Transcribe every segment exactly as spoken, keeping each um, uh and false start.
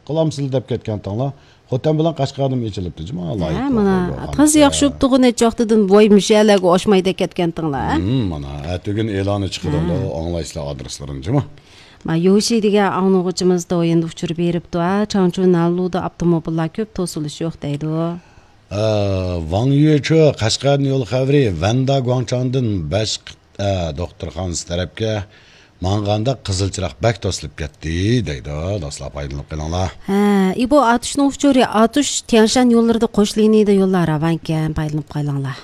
قىلامسىلەر دەپ كەتكەنتىڭلار. خوتەن بىلەن قەشقەردىمۇ ئېچىلىپتۇ جۇما ھە، لايىھە مانا، توغرا، تازا ياخشى بوپتۇغۇ، نەچچە ۋاقتىدىن ۋاي مۇشۇ يەرلەرگە ئوشمايدۇ كەتكەنتىڭلار، ھە؟ ھىم، مانا، ئەتىگۈن ئېلانى چىقىدۇ، ھە. ئاڭلايسىلەر ئادرېسلىرىنى جۇما. ما يوشى دېگەن ئاڭلىغۇچىمىز دويىندا ئۇچۇر بېرىپتۇ، ھە، چاڭچۇ نالۇدا ئاپتوموبىللار كۆپ، توسۇلۇش يوق دەيدۇ. ئە، ۋاڭ يۈچۇ، قەشقەردىن يول خەۋىرى، ۋەندا گۇاڭچاڭدىن بەش، ئە، دوختۇرخانىسى تەرەپكە ماڭغاندا قىزىل چىراغ بەك توسۇلۇپ كەتتى، دەيدۇ. دوستلار، پايدىلىنىپ قېلىڭلار. ھە، ئى، بۇ ئاتۇشنىڭ ئۇچۇرى، ئاتۇش تيەنشان يوللىرىدا قوش لىنىيىدە يوللار راۋانكەن، پايدىلىنىپ قېلىڭلار.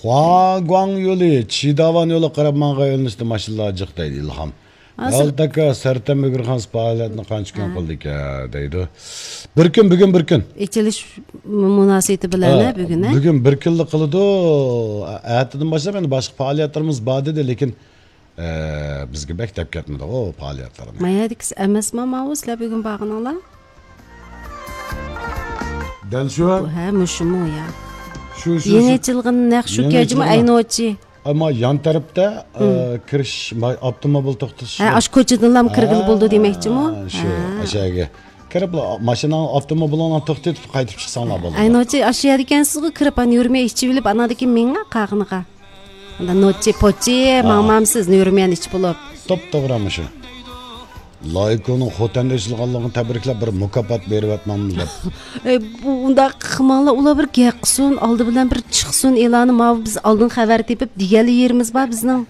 خۇاگۇاڭ يولى، چىداۋان يولىغا قاراپ ماڭغان يۆنىلىشتە ماشىنىلار جىق، دەيدۇ ئىلھام. ھازىر يالتاكا سەرتەن مۆگىرخانىسى پائالىيەتنى قانچە كۈن ھە. قىلدىكەن، دەيدۇ. بىر كۈن، بۈگۈن بىر كۈن. ئېچىلىش مۇناسىۋىتى بىلەن، ھە، ھە، بۈگۈن، ھە؟ بۈگۈن بىر كۈنلا قىلىدۇ. ئەتىدىن باشلاپ يەنە باشقا پائالىيەتلىرىمىز بار دېدى، لېكىن، ئە، بىزگە بەك دەپ كەتمىدى ئۇ پائالىيەتلەرنى. مايادىكىس ئەمەسما ماۋۇ سىلەر بۈگۈن بارغىنىڭلار؟ دەل شۇ. بۇ، ھە، مۇشۇمۇ يا؟ شۇ، شۇ، يېڭى شۇ. ئېچىلغان نەق شۇ يېڭى كەجمۇ ئېچىلغان. ئەينوچى. ئەمما يان تەرەپتە، ئە، مم. كىرىش، ما-، ئاپتوموبىل توختىتىش. ھە، ئاشۇ كوچىدىنلا كىرگىلى بولىدۇ دېمەكچىمۇ؟ ھە، شۇ، ھە. ئاشۇ يەرگە. كىرىپلا ماشىناڭ، ئاپتوموبىلىڭلارنى توختىتىپ قايتىپ چىقساڭلار بولىدۇ. ئەينوچى ئاشۇ يەردىكەنسىزغۇ، كىرىپ ئانا يۈرمە ئىچىۋېلىپ، ئانادىكى مېڭە قاغىنىغا. ئاندا نوچى پوچى، ھە. ماڭمامسىز، نۆرمىيەن ئىچىپ بولۇپ. توپتوغرا مۇشۇ. لايكونىڭ خوتەندە ئېچىلغانلىقىنى تەبرىكلەپ، بىر مۇكاپات بېرىۋەتمەمدۇ دەپ. ئەي، بۇ ئۇنداق قىلماڭلار، ئۇلار بىر گەپ قىلسۇن، ئالدى بىلەن بىر چىقسۇن ئېلانى، ماۋۇ بىز ئالدىن خەۋەر تېپىپ دېگەنلا يېرىمىز بار بىزنىڭ.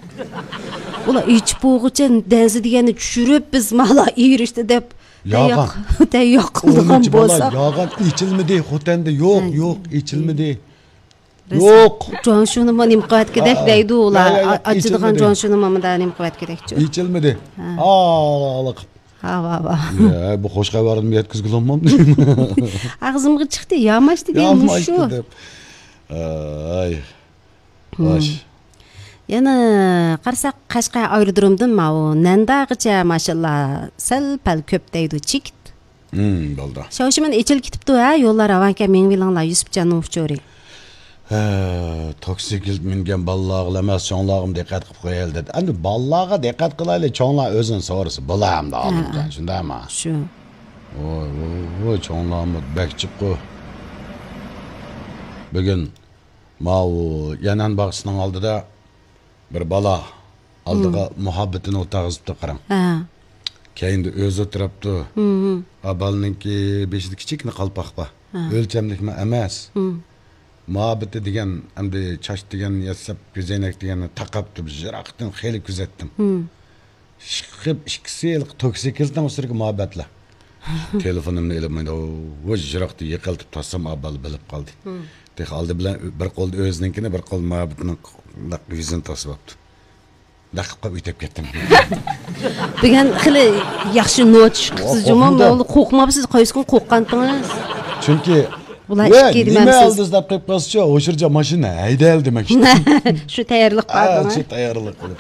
ئۇلار ئېچىپ بولغۇچە دەنزە دېگەننى چۈشۈرۈپ، بىز مالا ئېرىشتى دەپ يالغان. تەييار، تەييار قىلىدىغان ئۇنىڭ ئىچى بالا بولساق. يالغان، ئېچىلمىدى، خوتەندە يوق، ھە. يوق، ئېچىلمىدى. يوق. جۇاڭشۇنىمۇ نېمە قىلىۋەتكۈدەك ھە. دەيدۇ ئۇلار. يا، يا، يا، ئا-، ئاچىدىغان ئېچىلمىدى. جۇاڭشۇنىمۇ مۇندا نېمە قىلىۋەتكۈدەكچۇ. ئېچىلمىدى. ھە. ھاۋا، ھاۋا. ھاۋا، ھاۋا. يا، بۇ خوش خەۋەرنى يەتكۈزگىلى بولمامدۇ؟ ئاغزىمغا چىقتى، ياماشتى دېگەن ياماشتى مۇشۇ. دەپ. ئاي. ھىم. خوش. يەنە قارىساق، قەشقەر ئايرودرومدىن ماۋۇ نەنداغىچە ماشىنىلار سەل-پەل كۆپ دەيدۇ، چېكىت. ھىم، بولدى. شاۋشىمەن ئېچىلىپ كېتىپتۇ، ھە، يوللار راۋانكەن، مېڭىۋېلىڭلار، يۈسۈپجاننىڭ ئۇچۇرى. ھە، توكسىكلىت مىنگەن بالىلارغىلا ئەمەس، چوڭلارغىمۇ دىققەت قىلىپ قويايلى دېدى. ئەمدى بالىلارغا دىققەت قىلايلى، چوڭلار ئۆزىنى سورىسا بولا ئەمدى، ھە، ئالىمجان، شۇنداقمۇ؟ شۇ. ۋوي، ۋوي، ۋوي، چوڭلارمۇ بەك جىققۇ. بۈگۈن ماۋۇ يەنئەن باغچىسىنىڭ ئالدىدا بىر بالا ئالدىغا مۇھەببىتىنى ئولتۇرغۇزۇپتۇ، قاراڭ. ھە. كەينىدە ئۆزى ئولتۇرۇپتۇ. ھىم، ھىم. ئا، بالىنىڭكى بېشىدا كىچىككىنە قالپاق بار. ھە. ئۆلچەملىكمۇ ئەمەس. ھىم. مۇھەببىتى دېگەن، ئەمدى چاچ دېگەن ياساپ، كۆزەينەك دېگەننى تاقاپتۇ، يىراقتىن خېلى كۆزەتتىم. ھىم. ئىشقىپ ئىككىسى ھېلىقى توكسىكلىتنىڭ ئۈستىدىكى مۇھەببەتلەر. تېلېفونۇمنى ئېلىپ، مانا، ۋۇ، يىراقتا يىقىلتىپ تاسلىسام، ئا، بالا بىلىپ قالدى. ھىم. تېخى ئالدى بىلەن بىر قولدا ئۆزىنىڭكىنى، بىر قولدا مۇھەببىتىنىڭ يۈزىنى تاسلىۋاپتۇ. دەق قىلىپ ئۆتۈپ كەتتىم. بۈگۈن خېلى ياخشى نوچ چىقىپسىز جۇمۇ. قورقمىدىم. مەن قورقماپسىز، قايسىكۈن قورققانتىڭىز؟ چۈنكى، ۋە، قايسىكى نېمە دېمەمسىز؟ ئالدىز دەپ قويۇپ قالسىچۇ، ئوشۇرجا ماشىنا ھەيدەيلى دېمەكچى. شۇ تەييارلىق ھە، باردىڭىز؟ شۇ تەييارلىق قىلىپ.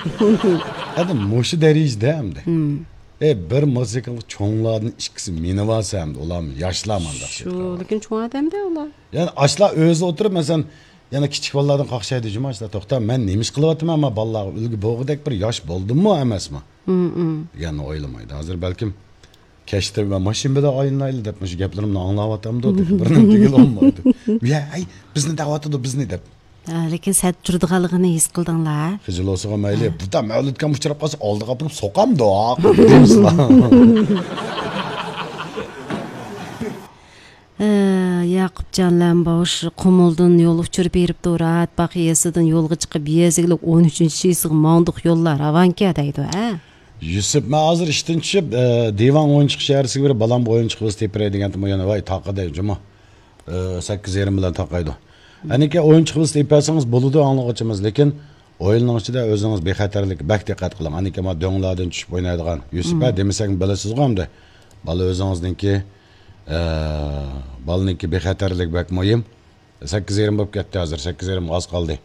ئەمدى مۇشۇ دەرىجىدە ئەمدى. ھىم. ئەي، بىر موتوسىكلغا چوڭلاردىن ئىككىسى مىنىۋالسا ئەمدى، ئۇلارمۇ ياشلار مانداق شۇ، لېكىن چوڭ ئادەمدە ئۇلار. يەنى ئاشۇلار ئۆزى ئولتۇرۇپ، مەسىلەن، يەنە كىچىك بالىلاردىن قاقشايدۇ جۇمۇ، ئاشۇلار، توختا، مەن نېمە ئىش قىلىۋاتىمەن، مانا بالىلارغا ئۈلگە بولغۇدەك بىر ياش بولدۇممۇ ئەمەسمۇ؟ ھىم، ھىم. دېگەننى ئويلىمايدۇ. ھازىر بەلكىم كەچتە مەن ماشىنا بىلەن ئايلىنايلى دەپ مۇشۇ گەپلىرىمنى ئاڭلاۋاتامدۇ دېدى. بىرنىڭ دېگىلى بولمايدۇ. يا، ئەي، بىزنى دەۋاتىدۇ، بىزنى دەپ. ھە، لېكىن سەت تۇرىدىغانلىقىنى ھېس قىلدىڭلار. خىجىل بولسىغۇ مەيلى، ھە. بۇدا مەۋلۇتكەم ئۇچراپ قالسا، ئالدىغا ئاپىرىپ سوقامدۇ، دەيسىلەر. ھە، ياقۇپجان لەمباۋۇش قۇمۇلدىن يول ئۇچۇر بېرىپتۇ، راھەت باغ يېزىسىدىن يولغا چىقىپ، يېزا ئىگىلىك ئون ئۈچىنچى شىسىغا ماڭدۇق، يوللار راۋانكەن دەيدۇ، ھە. يۈسۈپ، مەن ھازىر ئىشتىن چۈشۈپ، ئە، دىۋاڭ ئويۇنچۇق شەھەرچىسىگە بېرىپ، بالامغا ئويۇنچۇق بولسا تېپىرەي دېگەنتىم، يەنە ۋاي تاقا دەي جۇمۇ. ئە، سەككىز يېرىم بىلەن تاقايدۇ. ئەنىكى ئويۇنچۇق بولسا تېپىۋەتسىڭىز بولىدۇ، ئاڭلىغۇچىمىز. لېكىن ئويۇننىڭ ئىچىدە ئۆزىڭىز بىخەتەرلىك بەك دىققەت قىلىڭ. ئەنىكى ما دۆڭلەردىن چۈشۈپ ئوينايدىغان يۈسۈپ، ھە، دېمىسەكمۇ بىلىسىزغۇ ئەمدى. بالا ئۆزىڭىزنىڭكى، ئە، بالىنىڭكى بىخەتەرلىكى بەك مۇھىم. سەككىز يېرىم بولۇپ كەتتى ھازىر، سەككىز يېرىمغا ئاز قالدى.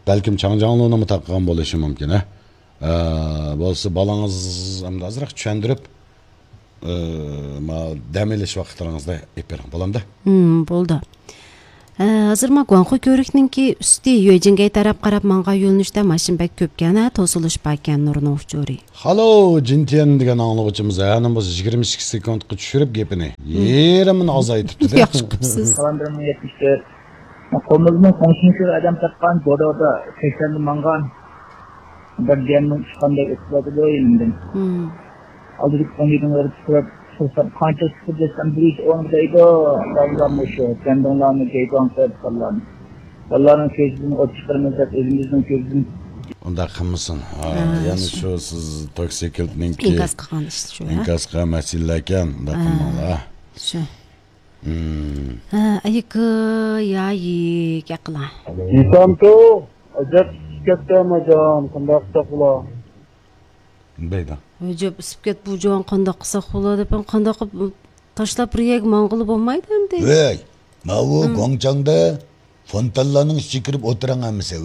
بەلكىم چاڭجاڭلۇنىمۇ تاقىغان بولۇشى مۇمكىن، ھە؟ ئە، بولسا بالىڭىز ئەمدى ئازراق چۈشەندۈرۈپ، ئە، ما دەم ئېلىش ۋاقىتلىرىڭىزدا ئېلىپ بېرىڭ، بولامدۇ؟ ھىم، بولدى. ھە، ھازىر ما گۇاڭخۇ كۆۋرۈكنىڭكى ئۈستى يۆجىنگەي تەرەپ قاراپ ماڭغان يۆنىلىشتە ماشىنا بەك كۆپكەن، ھە، توسۇلۇش باركەن، نۇرنىڭ ئۇچۇرى. خالو جىنتيەن دېگەن ئاڭلىغۇچىمىز ھە، نېمە بولسا يىگىرمە ئىككى سېكۇنتقا چۈشۈرۈپ گېپىنى. ھىم. يېرىمىنى ئازايتىپتۇ-دە. ياخشى قىپسىز. قالاندىرىمنىڭ يەتمىش تۆت. قولىمىزنىڭ قوڭشىنى شۇ ئادەم تاپقان، بودا بودا سەكسەندە ماڭغان. بىر دېگەننىڭ ئۇچقاندەك ئۆتۈپ بارىدۇ يېنىمدىن. ھىم. ئالدىدىكى ئون يېتىنى بېرىپ سورىسام، قانچە سۈپۈردەسكەن بىر يۈز ئون دەيدۇ. دەۋزاممۇ شۇ، كەندىڭلارمۇ گەيگاڭ قىلىپ قالغان. بالىلارنىڭ كۆزىدىن ئوت چىقىرىمىز دەپ ئۆزىمىزنىڭ كۆزىدىن. ئۇنداق قىلمىسۇن. ھا، ھە، يەنە شۇ. شۇ سىز توكسىكىلتنىڭكى ئىنكاس قىلغان ئىش شۇ، ھە؟ ئىنكاس قىلغان مەسىلىلەركەن، ئۇنداق ھە، قىلماڭلار. شۇ. ھىم. ھە، ئەيكى، يايىك، ئەقىلەن. ئىسامتۇ، ئەجەب ئىسسىپ كەتتى ئەمەجان، قانداق قىلساق بولا؟ دەيدۇ. ئەجەب ئىسسىپ كەت بۇ جان، قانداق قىلساق بولا دەپ، قانداق قىلىپ تاشلاپ بىر يەرگە ماڭغىلى بولمايدۇ ئەمدى. ۋەي، ماۋۇ ھىم. گۇاڭچاڭدا فونتانلارنىڭ ئىچىگە كىرىپ ئولتۇرۇڭ ھەممىسى.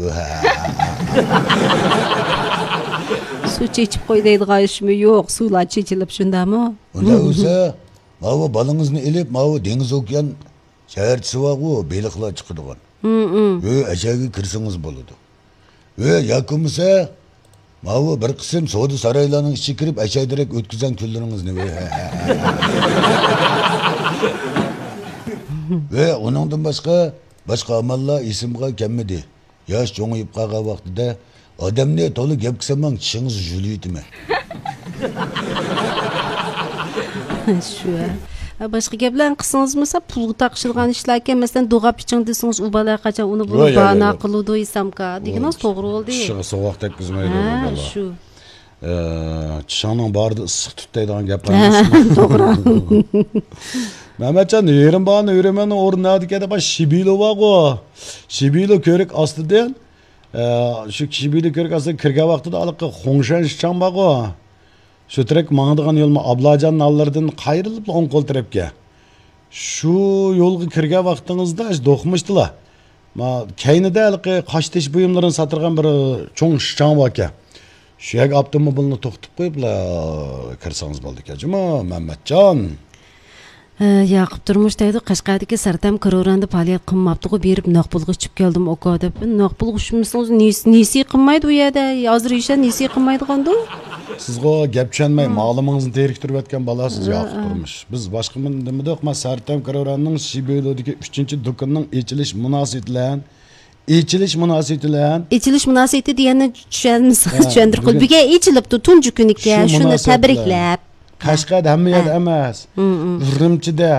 سۇ چېچىپ قوي دەيدىغان ئىشمۇ يوق، سۇلار چېچىلىپ شۇنداقمۇ؟ ئۇنداق بولسا، ماۋۇ بالىڭىزنى ئېلىپ، ماۋۇ دېڭىز ئوكيان شەھەرچىسى بارغۇ، بېلىقلار چىقىدىغان. ھىم، ھىم. ھۆ، ئەشەگە كىرسىڭىز بولىدۇ. ھۆ، ياكى بولمىسا، ماۋۇ بىر قىسىم سودا سارايلارنىڭ ئىچىگە كىرىپ، ئەشەدىرەك ئۆتكۈزەڭ كۈنلىرىڭىزنى. ھۆ، ھۆ، ئۇنىڭدىن باشقا، باشقا ئاماللار ئېسىمغا كەلمىدى. ياش چوڭىيىپ قالغان ۋاقتىدا ئادەمنى تولا گەپ قىلسام، چىشىڭىزنى يۇلۇۋېتىمەن. شۇ، ھە. ھە، باشقا گەپلەرنى قىلسىڭىزمۇ، پۇلغا تاقىشىدىغان ئىشلاركەن، مەسىلەن، دوغاپ ئىچىڭ دېسىڭىز، ئۇ بالا قاچان ئۇنى بۇنى ۋاي، ۋاي، بانا ۋاي. قىلىدۇ، ئېسامكا. دېگىنىڭىز توغرا بولدى. چىشىغا سوغۇق تەگكۈزمەيدۇ ھە، بۇ بالا. شۇ. ئە، چىشىڭنىڭ بارىدا ئىسسىق تۇت دەيدىغان گەپ ھە، بار ئەمەسمۇ؟ توغرا. مەمەتجان، يېرىم باھانە ئۆرۈمەننىڭ ئورنى نەدىكەن دەپ، شىبىلو بارغۇ. شىبىلو كۆۋرۈك ئاستىدىن، ئە، شۇ شىبىلو كۆۋرۈك ئاستىدىن كىرگەن ۋاقتىدا ھېلىقى خۇڭشەن شىچاڭ بارغۇ. شۇ تەرەپكە ماڭىدىغان يولمۇ ئابلاجان نانلىرىدىن قايرىلىپلا ئوڭ قول تەرەپكە. شۇ يولغا كىرگەن ۋاقتىڭىزدا، شۇ دوقمۇشتىلا، ما، كەينىدە ھېلىقى قاشتېشى بۇيۇملىرىنى ساتىدىغان بىر چوڭ شىچاڭ باركەن. شۇ يەرگە ئاپتوموبىلنى توختىتىپ قويۇپلا كىرسىڭىز بولىدىكەن جۇمۇ، مەمەتجان. ھە، ياقۇپ تۇرمۇش دەيدۇ، قەشقەردىكى سەرتەم كروراندا پائالىيەت قىلماپتىغۇ، بېرىپ نەق پۇلغا ئىچىپ كەلدىم ئاكا دەپ. نەق پۇلغا ئىچمىسىڭىز نېسى، نېسى قىلمايدۇ ئۇ يەردە. ھازىر ھېچ نېسى قىلمايدىغاندۇ. سىزغۇ گەپ چۈشەنمەي، ھىم. مالىمىڭىزنى تېرىكتۈرۈۋەتكەن بالا سىز، ھە، ياقۇپ ھە. تۇرمۇش. بىز باشقا نېمە دېمىدۇق، ما سەرتەم كروراننىڭ شىبىلودىكى ئۈچىنچى دۇكىنىنىڭ ئېچىلىش مۇناسىۋىتى بىلەن، ئېچىلىش مۇناسىۋىتى بىلەن. ئېچىلىش مۇناسىۋىتى دېگەننى چۈشەنمىسىڭىز ھە، چۈشەندۈرۈپ قويۇڭ. بۈگۈن، بۈگۈن ئېچىلىپتۇ، تۇنجى كۈنىكەن، شۇ شۇنى مۇناسىۋەت بىلەن. تەبرىكلەپ. قەشقەردە ھەممە يەردە ھە. ئەمەس. ھىم، ھىم. ئۈرۈمچىدە.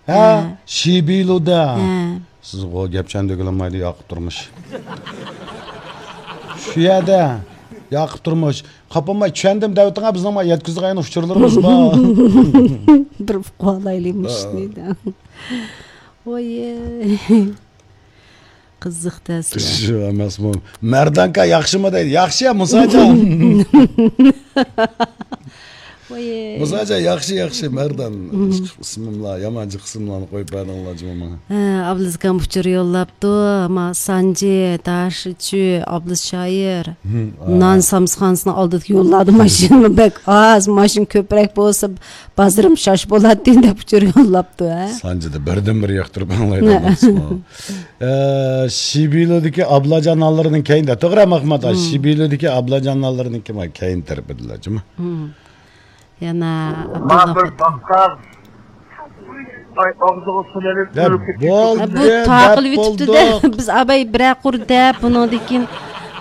ھە؟ ھە. شىبىلودا. ھە. سىزغۇ گەپ چۈشەندۈرگىلى بولمايدۇ، ياقۇپ تۇرمۇش. شۇ يەردە، ياقۇپ تۇرمۇش. قاپالماي چۈشەندىم دەۋېتىڭە، بىزنىڭ ما يەتكۈزىدىغان ئۇچۇرلىرىمىز بار. بىر ئۇقۇۋالايلى مۇشۇنى دە. ۋاي. قىزىق دەسلە. شۇ ئەمەسمۇ؟ مەردانكا ياخشىمۇ دەيدۇ. ياخشى يا، مۇساجان. ۋاي. مۇساجان ياخشى، ياخشى، مەردان. ئىسمىملا، يامان جىق ئىسىملارنى قويۇپ بەردىڭلار جۇمۇ ماڭا. ھە، ئابلىزكام ئۇچۇر يوللاپتۇ. ما سانجى، داشىچۈ، ئابلىز شائىر. ھىم، نان سامسىخانىسىنىڭ ئالدىدىكى يوللاردا ماشىنىمۇ بەك ئاز. ماشىنا كۆپرەك بولسا، بازىرىم شاش بولاتتى دەپ ئۇچۇر يوللاپتۇ، ھە؟ سانجىدا بىردىن بىر ياقتۇرۇپ ئاڭلايدۇ ئەمەسمۇ؟ ئە، شىبىلودىكى ئابلاجان نانلىرىنىڭ كەينىدە، توغرا، مەخمۇت ئاكا؟ ھىم. شىبىلودىكى ئابلاجان نانلىرىنىڭكى ما كەينى تەرىپىدىلا، جۇمۇ. ھىم. يەنە مانا بىر ئابدۇللا باققان. ئاي، ئاغزىغا سۇ بېرىپ، يا، ئۆلۈپ كېتىپ بولدى، بۇ دەپ تاقىلىۋېتىپتۇ-دە، بولدۇق. بىز ئاباي بىرەر قۇر دەپ، بۇنىڭدىن كېيىن،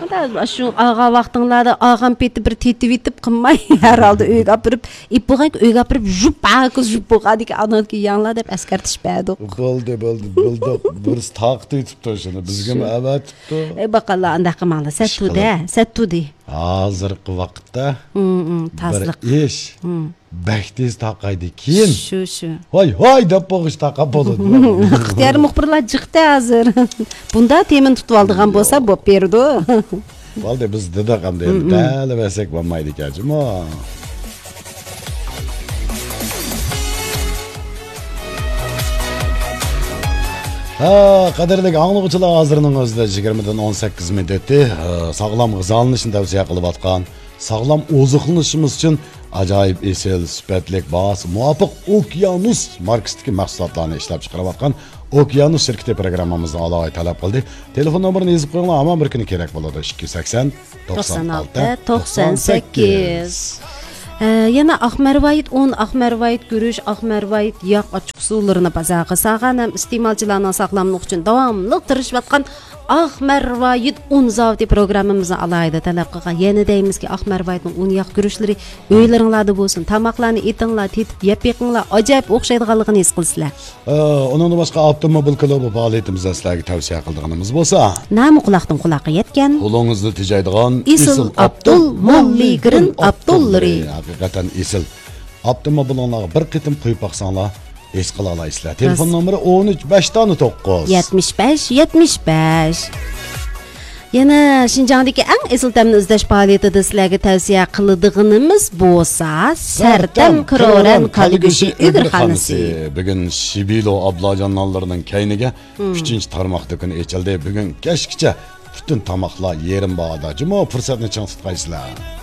مانا شۇ ئالغان ۋاقتىڭلاردا ئالغان پېتى بىر تېتىۋېتىپ قىلماي، ھەر ھالدا ئۆيگە ئاپىرىپ، ئېيتىپ بولغانكى ئۆيگە ئاپىرىپ، ژۇپ، ھاكا ژۇپ بولغاندىكىن ئاندىن كېيىن يەڭلار دەپ ئەسكەرتىش بەردۇق. بولدى، بولدى، بولدۇق. بىرسى تارقىتىۋېتىپتۇ شۇنى. بىزگىمۇ شۇ. ئەۋەتىپتۇ. ئەي، باققانلار ئانداق قىلماڭلار. سەتتۇدە، سەتتۇدى. ھازىرقى ۋاقىتتا ھىم، ھىم، بىر تازىلىق. ئىش ھىم. بەك تېز تارقايدىكىن. شۇ، شۇ. ھاي، ھاي دەپ بولغۇچە تارقاپ بولىدۇ. ئىختىيارىي مۇخبىرلار جىقتى ھازىر. بۇندا تېمىنى تۇتۇۋالىدىغان بولسا بوپ بېرىدۇ. بولدى، بىز دېدۇق ئەمدى، ھىم، ھىم. دەلىۋەرسەك بولمايدىكەن جۇمۇ. ھە، قەدىرلىك ئاڭلىغۇچىلار، ھازىرنىڭ ئۆزىدە يىگىرمىدىن ئون سەككىز مىنۇت ئۆتتى. ھە، ساغلام غىزالىنىشنى تەۋسىيە قىلىۋاتقان، ساغلام ئوزۇقلىنىشىمىز ئۈچۈن ئاجايىپ ئېسىل، سۈپەتلىك، باھاسى مۇۋاپىق ئوكيانۇس ماركىسىدىكى مەھسۇلاتلارنى ئىشلەپ چىقىرىۋاتقان ئوكيانۇس شىركىتى پروگراممىمىزنى ئالاھىدە تەلەپ قىلدى. تېلېفون نومۇرىنى يېزىپ قويۇڭلار، ھامان بىر كۈنى كېرەك بولىدۇ. ئىككى يۈز سەكسەن، توقسان ئالتە، توقسان سەككىز. ھە، يەنە ئاق مەرۋايىت ئۇن، ئاق مەرۋايىت گۈرۈچ، ئاق مەرۋايىت ياغ ئاچچىق سۇلىرىنى بازارغا سالغان ھەم ئىستېمالچىلارنىڭ ساغلاملىقى ئۈچۈن داۋاملىق تىرىشىۋاتقان ئاق مەرۋايىت ئۇن زاۋۇتى پروگراممىمىزنى ئالاھىدە تەلەپ قىلغان. يەنە دەيمىزكى، ئاق مەرۋايىتنىڭ ئۇن ياغ گۈرۈچلىرى ئۆيلىرىڭلاردا بولسۇن، تاماقلارنى ئېتىڭلار، تېتىپ يەپ بېقىڭلار، ئاجايىپ ئوخشايدىغانلىقىنى ھېس قىلىسىلەر. ئە، ئۇنىڭدىن باشقا ئاپتوموبىل كۇلۇبى پائالىيىتىمىزدە سىلەرگە تەۋسىيە قىلىدىغىنىمىز بولسا، نامە قۇلاقتىن قۇلاققا يەتكەن، قولىڭىزدا تېجەيدىغان ئېسىل ئېسىل ئابدۇل، ئابدۇل، موللىگرىن موللىگرىن ئابدۇللىرى. ئابدۇللىرى. ھەقىقەتەن ئېسىل. ئاپتوموبىلىڭلارغا بىر قېتىم قويۇپ باقساڭلار، ھېس قىلالايسىلەر. تېلېفون راست. نومۇرى ئون ئۈچ، بەش دانە توققۇز. يەتمىش بەش، يەتمىش بەش. يەنە شىنجاڭدىكى ئەڭ ئېسىل تەمنى ئىزدەش پائالىيىتىدە سىلەرگە تەۋسىيە قىلىدىغىنىمىز بولسا، سەرتەم كرورەن كالا گۆشى ئۈگرىخانىسى. بۈگۈن شىبىلو ئابلاجان نانلىرىنىڭ كەينىگە مم. ئۈچىنچى تارماق دۇكىنى ئېچىلدى. بۈگۈن كەچكىچە پۈتۈن تاماقلار يېرىم باھادا. جۇمۇ پۇرسەتنى چىڭ تۇتقايسىلەر.